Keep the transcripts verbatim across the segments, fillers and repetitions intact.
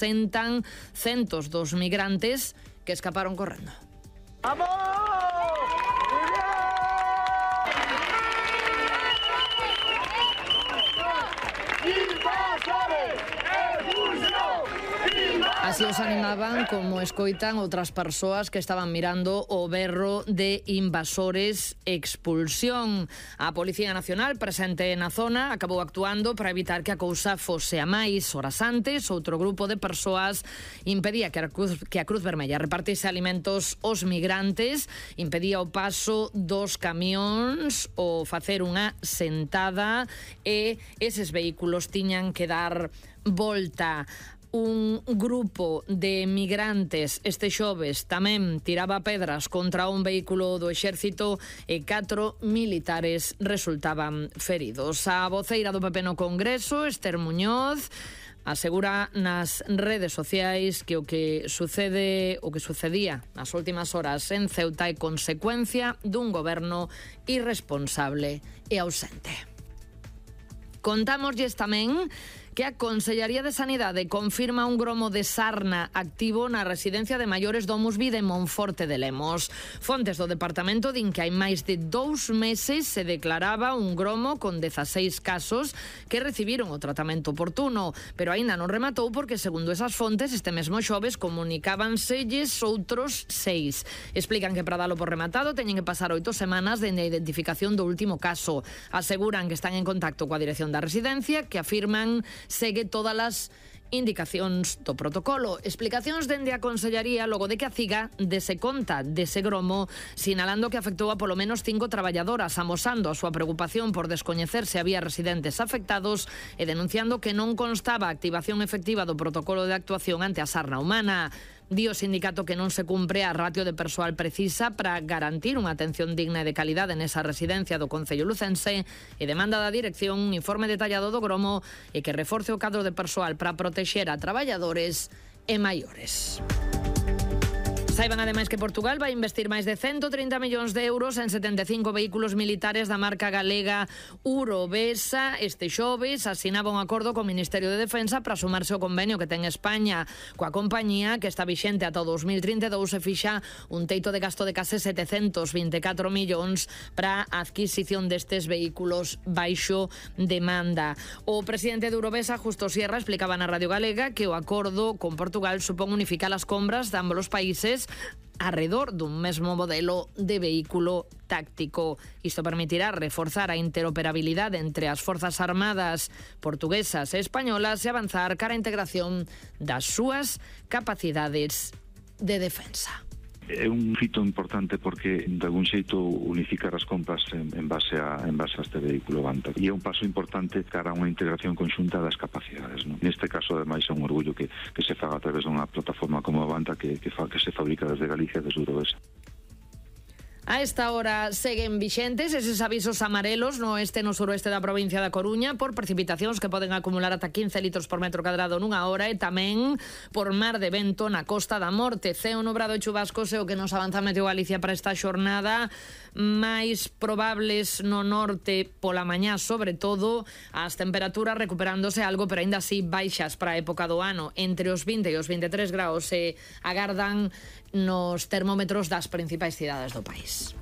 sentan centos dos migrantes que escaparon correndo. ¡Vamos! Así os animaban como escoitan outras persoas que estaban mirando o berro de invasores expulsión. A Policía Nacional presente na zona acabou actuando para evitar que a cousa fose a máis. Horas antes, outro grupo de persoas impedía que a Cruz, que a Cruz Vermella repartise alimentos aos migrantes, impedía o paso dos camións ou facer unha sentada e eses vehículos tiñan que dar volta. Un grupo de migrantes este xoves tamén tiraba pedras contra un vehículo do exército e catro militares resultaban feridos. A voceira do P P no Congreso, Esther Muñoz, asegura nas redes sociais que o que sucede, o que sucedía nas últimas horas en Ceuta é consecuencia dun goberno irresponsable e ausente. Contámoslles tamén que a Consellería de Sanidade confirma un gromo de sarna activo na residencia de maiores do Musbi de Monforte de Lemos. Fontes do departamento din que hai máis de dous meses se declaraba un gromo con dezaseis casos que recibiron o tratamento oportuno, pero aínda non rematou porque, segundo esas fontes, este mesmo xoves comunicábanselles outros seis. Explican que para dalo por rematado teñen que pasar oito semanas dende a identificación do último caso. Aseguran que están en contacto coa dirección da residencia, que afirman segue todas as indicacións do protocolo. Explicacións dende a Consellería logo de que a CIGA dese conta dese gromo, sinalando que afectou a polo menos cinco traballadoras, amosando a súa preocupación por descoñecer se había residentes afectados e denunciando que non constaba a activación efectiva do protocolo de actuación ante a sarna humana. Di o sindicato que non se cumpre a ratio de persoal precisa para garantir unha atención digna e de calidade nesa residencia do Concello lucense e demanda da dirección un informe detallado do gromo e que reforce o cadro de persoal para protexer a traballadores e maiores. Saiban ademais que Portugal vai investir máis de ciento trinta millóns de euros en setenta e cinco vehículos militares da marca galega Urovesa. Este xoves asinaba un acordo co Ministerio de Defensa para sumarse ao convenio que ten España coa compañía, que está vixente ata o dos mil trinta e dous, e fixa un teito de gasto de case setecentos vinte e catro millóns para a adquisición destes vehículos baixo demanda. O presidente de Urovesa, Justo Sierra, explicaba na Radio Galega que o acordo con Portugal supón unificar as compras de ambos os países arredor dun mesmo modelo de vehículo táctico. Isto permitirá reforzar a interoperabilidade entre as forzas armadas portuguesas e españolas e avanzar cara a integración das súas capacidades de defensa. É un fito importante porque de algún xeito unificar as compras en, en base a en base a este vehículo Vanta, e é un paso importante cara a unha integración conxunta das capacidades, non? Neste caso, ademais, é un orgullo que, que se faga a través dunha plataforma como a Vanta que, que, fa, que se fabrica desde Galicia, desde Urovesa. A esta hora seguen vixentes eses avisos amarelos no oeste e no suroeste da provincia da Coruña por precipitacións que poden acumular ata quince litros por metro cadrado nunha hora, e tamén por mar de vento na Costa da Morte. Ceo nubrado e chubascos é o que nos avanza Meteo Galicia para esta xornada, máis probables no norte pola mañá, sobre todo, as temperaturas recuperándose algo, pero aínda así baixas para a época do ano, entre os vinte e os vinte e tres graus se agardan nos termómetros das principais cidades do país.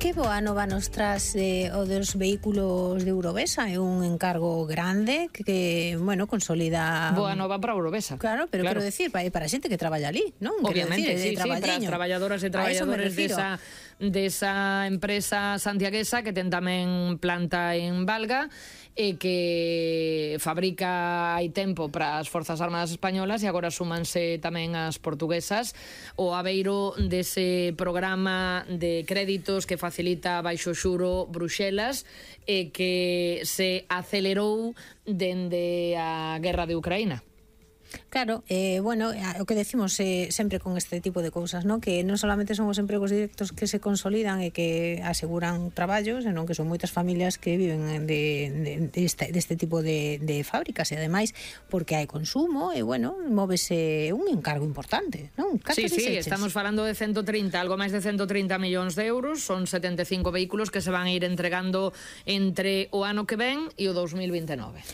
Que boa nova nos tras eh, o dos vehículos de Urovesa. É un encargo grande que, que bueno, consolida... Boa nova para Urovesa. Claro, pero claro, quero decir, para, para a xente que traballa ali, non? Obviamente, decir, sí, sí, para as traballadoras e traballadores desa, desa empresa santiaguesa que ten tamén planta en Valga e que fabrica hai tempo para as Forzas Armadas Españolas, e agora súmanse tamén as portuguesas o abeiro dese programa de créditos que facilita baixo xuro Bruxelas e que se acelerou dende a guerra de Ucraína. Claro, eh, bueno, o que decimos eh, sempre con este tipo de cousas, ¿no? Que non solamente son os empregos directos que se consolidan e que aseguran traballos, senón que son moitas familias que viven de, de, de, este, de este tipo de, de fábricas, e ademais porque hai consumo e, bueno, móvese un encargo importante, non? Sí, sí, estamos falando de ciento trinta, algo máis de ciento trinta millóns de euros, son setenta e cinco vehículos que se van a ir entregando entre o ano que ven e o dos mil vinte e nove.